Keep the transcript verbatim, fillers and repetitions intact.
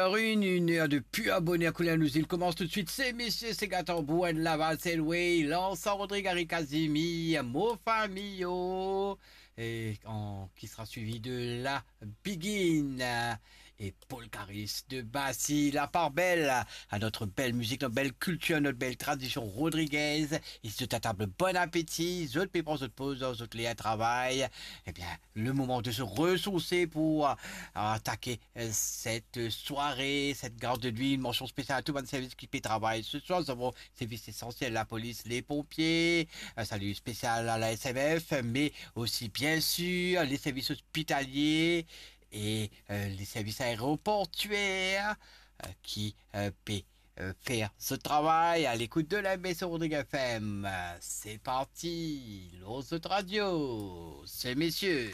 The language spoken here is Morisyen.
Une, une heure de pur bonheur kouleur nou zil koumans toutswit. Se misie, se gatan, Bouen, Laval, Selway, Lansan, Rodrig, Ari, Kazimi, Mo Famiyo, et en, qui sera suivi de la Biguine, euh, et Paul Caris de Basi, la part belle à notre belle musique, notre belle culture, notre belle tradition rodriguaise. Ici, tout à table, bon appétit. Zot pe pran zot poz, zot le travay. Eh bien, le moment de se ressourcer pour, euh, attaquer, euh, cette soirée, cette garde de nuit. Une mention spéciale à tout bann servis ki pe travay ce soir. Nous avons service essentiel, la police, les pompiers. Un salut spécial à la S M F, mais aussi, bien sûr, les services hospitaliers et, euh, les services aéroportuaires, euh, qui, euh, pe, euh, faire ce travail à l'écoute de la Maison Rodrigue F M. C'est parti, lor zot radio, se misie.